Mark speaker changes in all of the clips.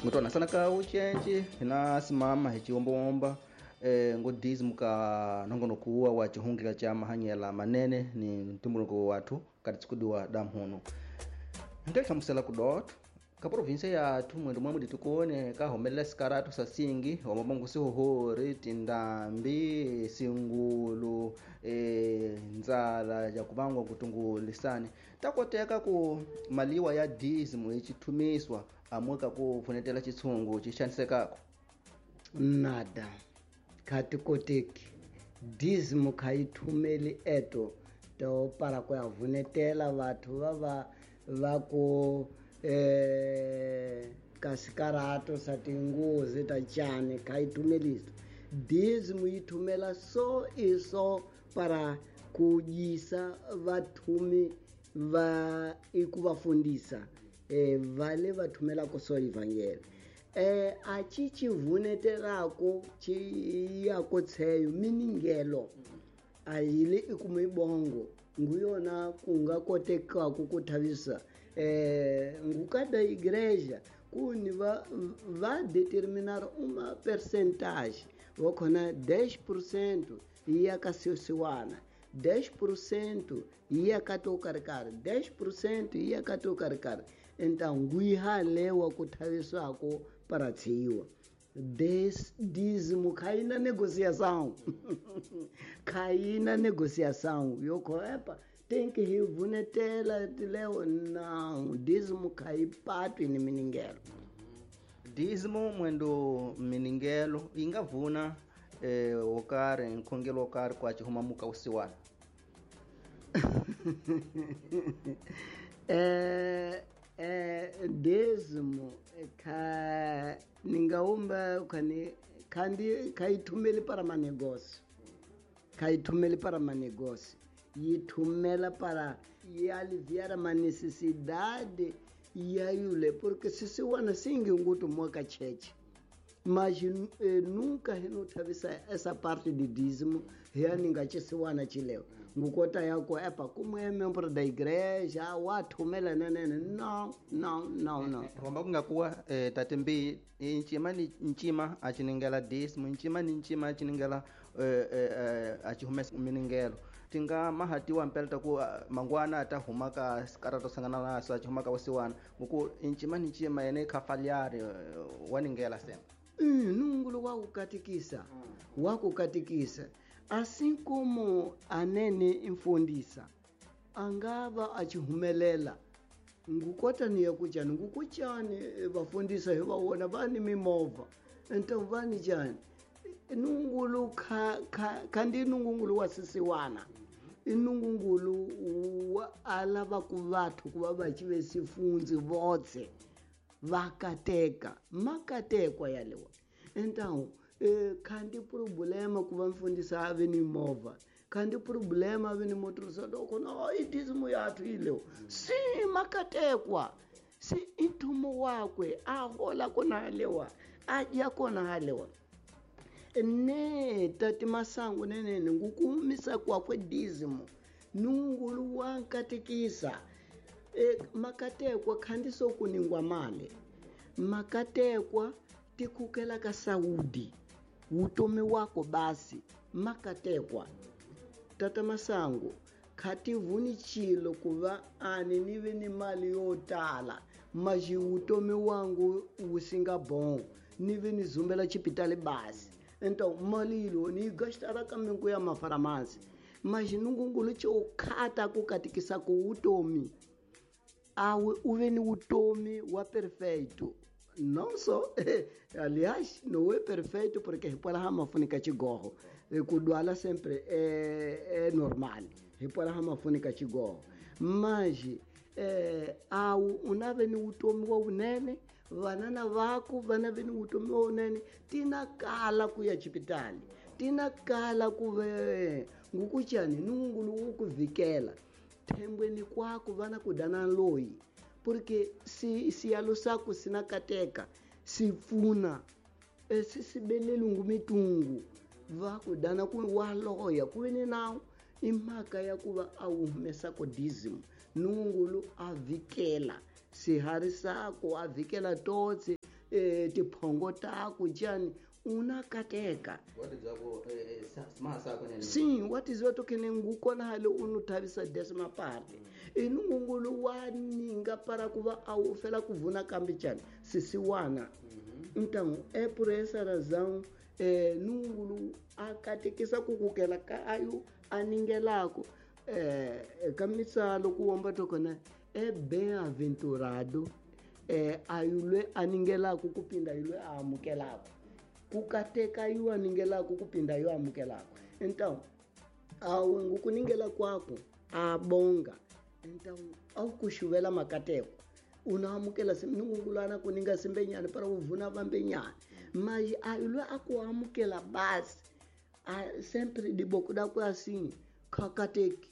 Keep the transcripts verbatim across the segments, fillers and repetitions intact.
Speaker 1: Ngutwana sana ka ucenci hina simama hi chiwombowomba eh ngo dízimo ka nongonoko kuwa wa chihungila cha mahanyela manene ni ntumbuluko wathu kati tsikudiwa damhuno nte hlamusela kudot ka provinsia yathu mwendo mwamwe ditukone ka homelela sikaratu sa singi wamabongo sihohori tindambi singulu e nzala ya kubangwa kutungulisani takoteka ku maliwa ya dízimo ichithumiswa amweka ku pfunetela chitsungu chixanisekako
Speaker 2: nada khatikoteki dízimo khayithumeli eto to para ku ya vunetela vathu va va va ku eh kasikarato sa tingozi ta chani khayithumelisa dízimo yi thumela so iso para ku yisa vathumi va iku va fundisa eh vale va thumela ko so evangeli eh a chi chi vunetelako chi ya ko tsheyo miningelo ayile ikumibongo nguyona kunga koteka ku thavisa eh ngukada igreja kuni va va determinar uma percentage vokhona dez por cento ia ka siwana dez por cento ia ka tokarikari dez por cento ia ka tokarikari então nguihalewa ku thaviswako para tsiwa des dízimo cai na negociação cai na negociação yoko epa tem que revunetela leo não dízimo cai pato ni miningelo
Speaker 1: dízimo mwendo miningelo ingavuna eh okare nkhongelo okare kwa chihuma muka usiwana
Speaker 2: eh eh dízimo ka ningaumba khani khandi khayithumeli para manegócio khayithumeli para manegócio yithumela para aliviar uma necessidade yayule porque se se wana singi ngutu moka cheche mas eh, nunca renotavisa essa parte de dízimo reaninga chisiwana chileo ngukota yako epa como é membro da igreja wathumela nenene não não não não
Speaker 1: romba kungakuwa eh, tatembi nchima ni nchima achiningela dízimo nchima ni nchima achiningela eh, eh, achihumesa miningelo tinga mahatiwa mpelta ku mangwana ata huma ka sikarato sangana naso achihuma ka usiwana nguku nchima ni nchima ene khafaliari waningela sema
Speaker 2: Mm, nungulu wakukatikisa mm. wakukatikisa assim como anene imfundisa angava achihumelela ngukota niya kuchani ngukuchani vafundisa hi va vani mimovha então vani chani nungulu kha kha khandi nungulu wa sisiwana inungulu wa alava ku vathu ku va va chive sifunzi votse vakateka makatekwa yalewa então eh, khandi problema ku va mfundisa ave ni movha khandi problema ave ni motorisa doko no idizimo yathu ileo si makatekwa si intumo wakwe a hola kona halewa a dya kona halewa ne tati masangu nenene ngukumisa kwakwe dízimo nungulu wankatikisa e, makatekwa khandi sokuningwa mali makatekwa tikukela ka saudi utomi wako basi makatekwa tata masangu khativuni chilo kuva ani nive ni mali yo tala maji utomi wangu usinga bom nive ni zumbela chipitali basi então mali ilo ni gastara kamengo ya mafaramasi mas nungungulu cho khata kukatikisa ku utomi awe uve ni utomi wa perfeito não só aliás não é perfeito porque repola hamafunika chigorro kudwala sempre é, é normal repola hamafunika chigorro mas é, au unave ni utomi wa unene vanana vako vanave ni utomi wa unene tina kala kuya chipitali tina kala kuve ngukuchani nungulu ukuvikela thembweni kwako vana kudana loyi porque si siyalo sako sinakateka sifuna esisibelele ngumitungu va kudana ku waloya kuve nawo imhaka ya kuva a humesa ko dízimo nungulu a vikela sihari sako a vikela totse eh, tiphongo taku chani una kateka. Sim, watiziva tokene ngukona hale unothavisa décima parte. Inungungulu wa ninga para kuva a fela kuvuna kambi chani sisiwana. Então é por essa razão eh, nungulu akatekisa kukukela ka ayo aningelako eh, kamitsalo kuomba tokona é bem-aventurado eh, ayo aningelako kupinda ayo amukelako. Kukateka ayo aningelako kupinda ayo amukelako. Então ao ngukuningela kwako abonga. Então ao kuxuvela makateko unaamukela nungungulana kuninga simbenyana para uvuna vambenyana. Mas ayo akuamukela basi a, sempre de boca da assim kakateki.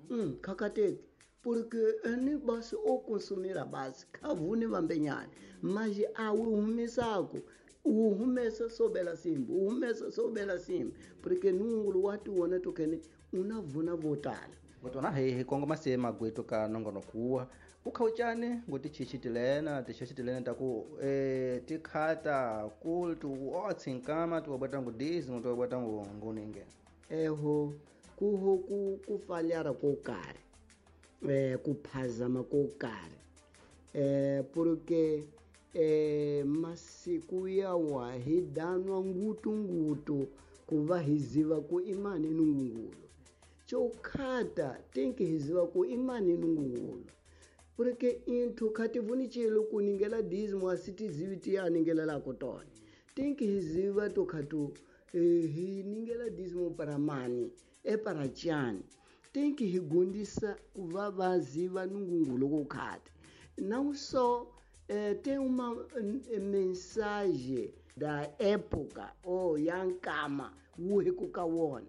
Speaker 2: Hum, kakateki porque ene basi o consumir a base kavuni vambenyana. Mas ao umisako uhumesa sobela simba uhumesa sobela simba porque nungulu watu wona tokene unavuna votala.
Speaker 1: Ngotona he kongoma se magweto ka nongonokuwa ukhawuchane ngoti chichitilena tichichitilena taku eh tikhata kultu otsinkama tuwabata ngudizi tuwabata nguninge
Speaker 2: eho kuho ku kufalyara ko karhi eh kuphazama ko karhi eh porque eh masiku yawa hi danwa ngutu ngutu kuva hiziva ku imani nungungulu chokhata tenki hiziva ku imani nungungulu porque into khativuni chilo kuningela dízimo asitizivi tiyaningela lako tona tenki hiziva to khatu eh, hiningela dízimo para mani e para chani tenki higundisa kuva vaziva nungungulu kukhata não só eh, tem uma mensagem da época ou yankama wuhikukawona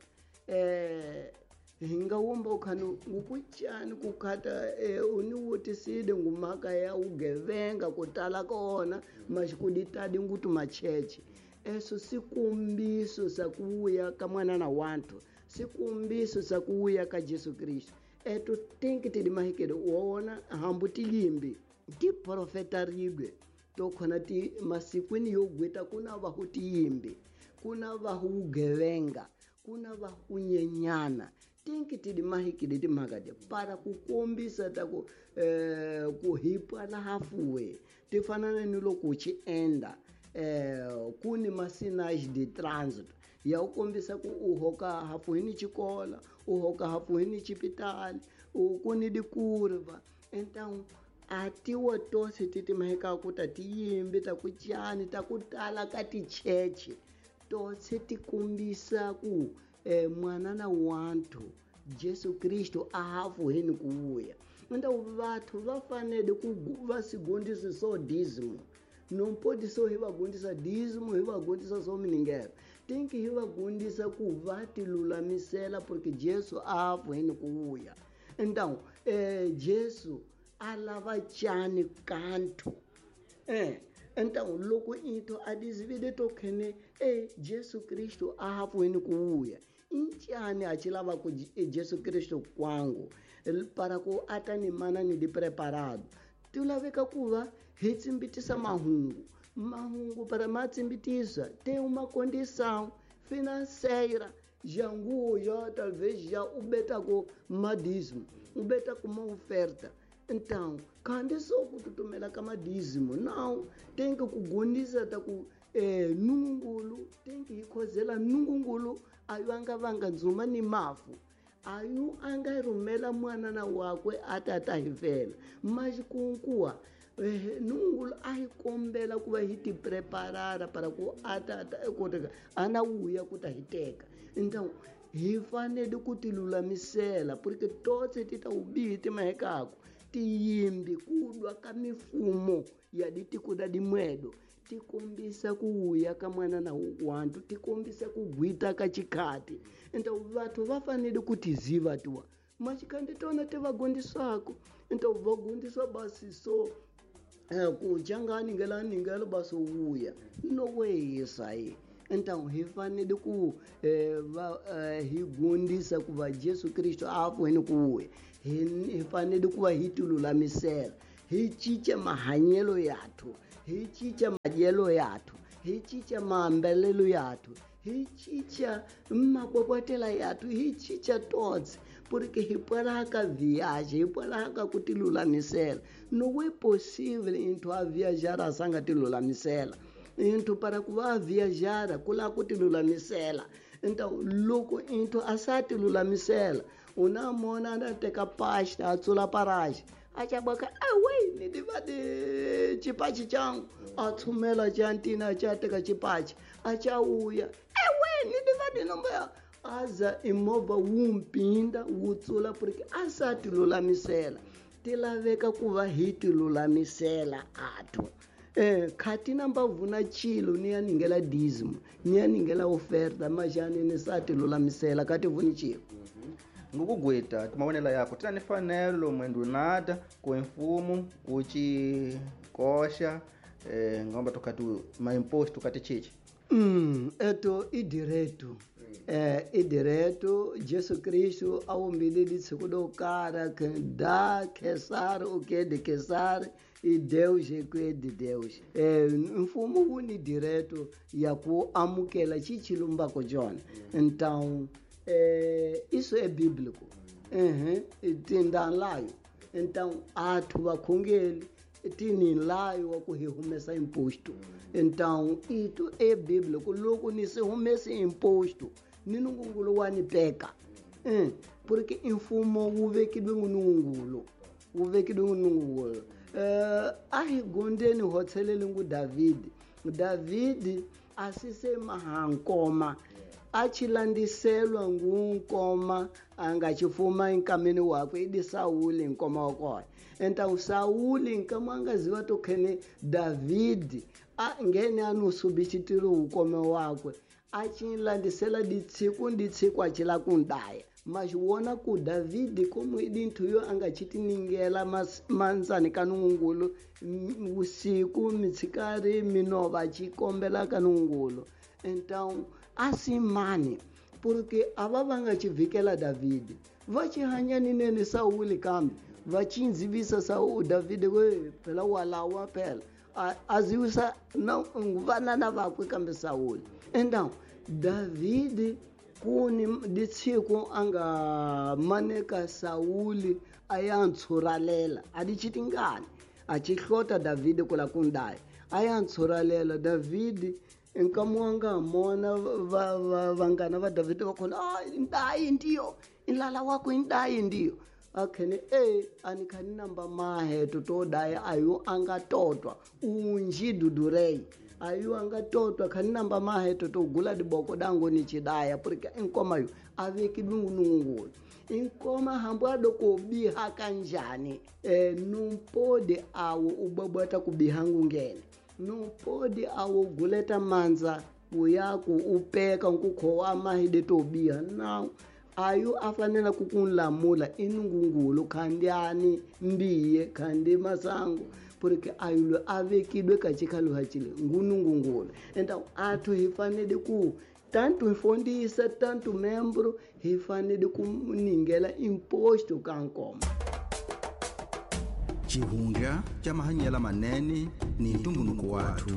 Speaker 2: eh hinga womba ukhanu ngukuchani kukhata eh, uniwotisile ngumhaka ya ugevenga kutala kona maxikuditadi ngutu macheche eso sikombiso sa kuuya ka mwana na wantu sikombiso sa kuuya ka Jesu Kristo eto tenki tidi mahikele wona hambu tilimbi tiprofeta ribwe tokhona ti masikwini yo gweta kuna vahu tiyimbi kuna vahu ugevenga kuna vahu nyenyana tenki tidi mahikile timhaka ti para kukombisa ta ku eh, ku hipa na hafuwe ti fanana ni loko u chi enda eh, ku ni masinage de trânsito ya u kombisa ku u hoka hafuhini xikola u hoka hafuhini xipitali u ku ni dikurva. Então a tiwa tose ti timhaka ku ta tiyimbi ta ku chani ta ku tala ka ticheche tose ti kombisa ku eh, mwana na wantu Jesu Kristo a hafuhini ku vuya. Então vathu va fanele ku va sigondisi so dízimo não pode só hi va gondisa dízimo hi va gondisa só miningelo tem que hi va gondisa ku va ti lulamisela porque Jesu a hafuhini ku vuya. Então eh, Jesu a lava chani kanto eh então loko into a dizivide tokhene eh Jesu Kristo a hafuhini ku vuya inchani a chilava ku Jesu Kristo kwangu para ku ata ni mana ni di preparado ti laveka ku va hi tsimbitisa mahungu mahungu para ma tsimbitisa tem uma condição financeira jangu já talvez já ubeta ku madízimo ubeta ku uma oferta. Então kandi só kututumela ka madízimo não tem que kugondisa ta ku eh, nungungulu tem que hikhozela nungungulu ayo anga vanga ndzuma ni mafu ayo anga rhumela mwana na wakwe a ta ta hi fela maxikunkuwa eh, nungungulu a hi kombela ku va hi ti preparara para ku a ta ta koteka a na wuya ku ta hi teka. Então hi fanele ku ti lulamisela porque tose ti ta ubihi timahekaku tiyimbi ku lwa ka mifumo ya ditiko da dimwedo ti kombisa ku wuya ka mwana na wantu ti kombisa ku gwita ka chikhati. Então vathu va fanele ku tiziva tuwa maxikhandi tona ti va gondisako. Então va gondiswa basi so eh, ku janga ningela ningela basi wuya no weyisa yi. Então hi fanele ku eh, va eh, hi gondisa ku va Jesu Kristo a hafuhini ku wuya hi fanele ku va hi ti lulamisela Hi cinca mahanyelo yathu, hi cinca madyelo yathu, hi cinca maambalelo yathu, hi cinca mapopotela yathu, hi cinca totse, porque hi pwalaka viagem, hi pwalaka ku tilulamisela. Não é possível into a viajar a sanga tilulamisela. Into para ku va viajar ku la ku tilulamisela. Então loko into a sa tilulamisela, una mona na teka pasta a tsula paraji. Achaboka away ni divade chipachi changu athumela chantina chateka chipachi achauya ewe ni divade nomba aza imovha wumpinda wutsula porque asati lulamisela tilaveka kuva hi tilulamisela athu eh khati namba vuna chilo ni yaningela dízimo ni yaningela oferta majani ni sati lulamisela kati vuni chilo.
Speaker 1: Ngukugweta timavonelo yako tina ni fanelo mwendunada ku mfumo uchikoxa eh ngomba tokati ma imposto kati chichi
Speaker 2: mm eto i direto eh i direto Jesu Cristo awumbile litsiko do kara da Cesar o que de Cesar e Deus é que de Deus. Eh mfumo wu ni direto ya ku amukela chichilumba ko jona. Então eh isso é bíblico. Uhum, tindanlayo. Então athu vakhongeli tininlayo wa ku hi humesa imposto. Então itu é bíblico loko ni se humese imposto ni nungungulu wa ni peka. Eh, porque mfumo wu vekidwe ngunungulu. Wu vekidwe ngunungulu. Eh a hi gondeni hotselele ngu David. David asise mahankoma. Achilandiselwa ngunkoma angachifuma enkameni wakwe idi Sauli nkoma wakona. Então Sauli nkama angaziwa tokhene David ngene anusubitshitiro ukome wakwe achilandisela ditsiku nditsiku achila kundaya. Mas wona ku David como idinthu yo angachitiningela manzani kanungulu usiku mitsikari minova achikombela kanungulu. Então assim mani porque ava vangachivikela David vachihanya ninene Sauli kambe vachinzivisa Saul David we phela walawa phela aziwisa na vanana vakwe kambe Sauli. Então David kuni ditsiko anga maneka Sauli ayantshuralela adichitingani achihlota David kula kundai ayantshuralela David nkamuanga mona vangana va David va khona ah indayi ndiyo inlala wako indayi ndiyo akhene eh anikhani namba maheto to daya ayo angatotwa unji dudurei ayo angatotwa khani namba maheto to gula diboko dango ni chidaya porque inkoma yo aveki dungunungulu inkoma hambo adoko biha kanjani eh numpode awo ubabata kubihangu ngene nupodi awuguleta manza uyaku upeka nkukho amahide tobiha now ayo afanele kukunlamula inungungulu khandiani mbiye khandi masango porque ayo avekidwe kachikhalu hachile ngunungungulu. Então athu hifanele ku tanto mfundisa tanto membro hifanele kuningela imposto kankoma.
Speaker 1: Chihunga cha mahanyela manene ni ntumbuluko wathu.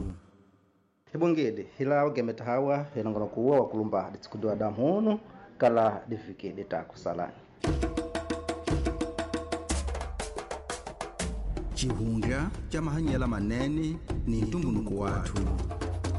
Speaker 1: Hibongede hilawo gemeta hawa helangona kuwa wakulumba ditsikudwa damhono kala difike ditakusalani. Chihunga cha mahanyela manene ni ntumbuluko wathu.